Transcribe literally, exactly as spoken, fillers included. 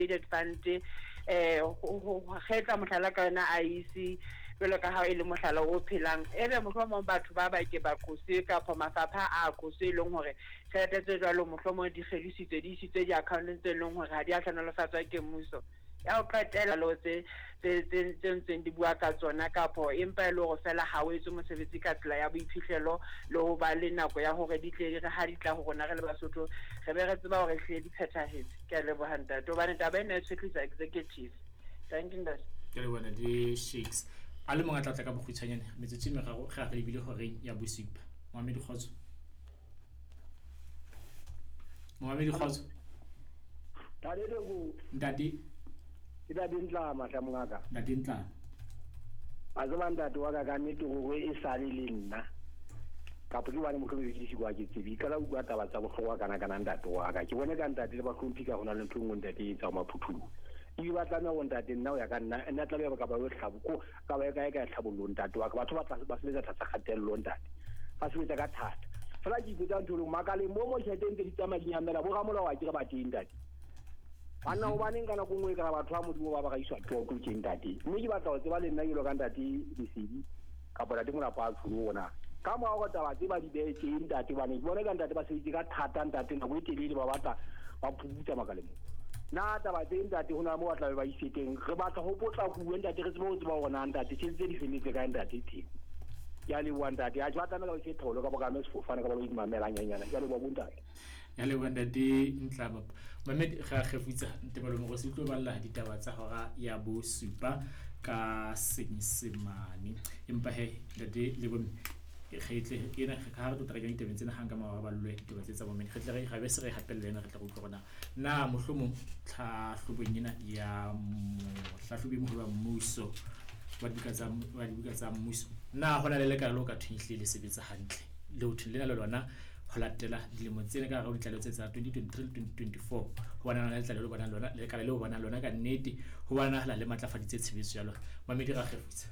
Consolidated Fund eh ho kgetla mohlala ka yona I E C jwalo ka ha e le mohlala o phelang ebe mohlomong batho ba ba ke ba qoswe kapa mafapha a qoswe e leng hore tjhelete tse jwalo mohlomong di kgelositswe di isitswe di-accounteng tse leng hore ha di a hlohonolofatswa ke mmuso. Ya ho qetela lo tse tse tse tse ntseng di bua ka tsona kapo empa e le hore fela ha o etse mosebetsi ka tsela ya boiphihlelo le ho ba le nako ya hore di tle re ha di tla ho rona re le Basotho re be re tseba hore ehlile di phethahetse. Ke a leboha ntate hobane taba ena e tshwetlisa executive. Thank you ntate. Ke leboha ntate Shakes. A le mong a tla tla ka bokgutshwanyane metsotso e meraro re a re lebile horeng ya bosupa. Moamedi Kgotso. Moamedi Kgotso. Ntate Toko. Ntate. Ke Ntate Ntlama hle mongaka. Ntate Ntlama. A tseba ntate wa ka ka nnete hore e sale le nna. Kapa ke bane mohlomong ke disiwa ke tsebe. Ka la utlwa taba tsa bohlokwa kana kana ntate wa ka. Ke bone ka ntate le bahlomphi ka hona le ntho e nngwe ntate e etsa maphuthulu. Ebile ba tlameha hore ntate nna ho ya ka nna, nna tlameha ka ba yo hlabo ko ka ba kae kae tlhabollo ntate wa ka. Batho ba tla ba sebetsa tlasa kgatello ntate. Ba sebetsa ka thata. Fela ke ipotsa ntho e le nngwe, makaleng mo mo tjhelete ntse di tsamaya di nyamela, bo ramolao a ke re ba teng ntate. Banna hobaneng ka nako e nngwe e kare batho ba Modimo ba ba ra iswa toto tje ntate. Mme ke batla ho tseba le nna jwalo ka ntate Lesedi kapa ntate Molapo a tsholo ona. Ka mora hore taba tse ba di behe tje ntate, hobane ke bona ka ntate ba sebeditse ka thata ntate nako e telele ba batla ba phuputsa makaleng mo. Na taba tse ntate ho na mo ba tla be ba ise teng. Re batla ho potlakuwe ntate, re tsebe ho tseba hore na ntate tjhelete tse di felletse kae ntate teng. Ke a leboha ntate. Ha ke ba tlameha ba ise tholo kapa ka mme sefofane kapa ba imamelang nyanyana. Ke a leboha bo ntate. Ya leboha ntate Ntlama. Mamedi ga kgefutsa Ntebalo Mogosi o tlo balla ditaba tsa hora ya bosupa ka Senyesemane. Empa he ntate le bomme re tle ena ka ha re tlo tla kenya ditabeng tsena hang ka mora ballwe ditaba tse tsa bomme. Re tle re ra be se re hapella ena re tla utlwa hore na na mohlomong tlhahlobong ena ya mohlahlobi moholo wa mmuso wa dibuka tsa wa dibuka tsa mmuso na hona le lekala leo ka thweng ehlile le sebetsa hantle le ho thweng lena le lona ho latela dilemo tsena ka hare ho ditlaleho tse tsa twenty twenty-three le twenty twenty-four ho bona lona letlalo le bonang lona lekala leo bonang lona ka nnete ho bonahala le matlafaditse tshebetso ya lona. Mamedi ra kgefutsa.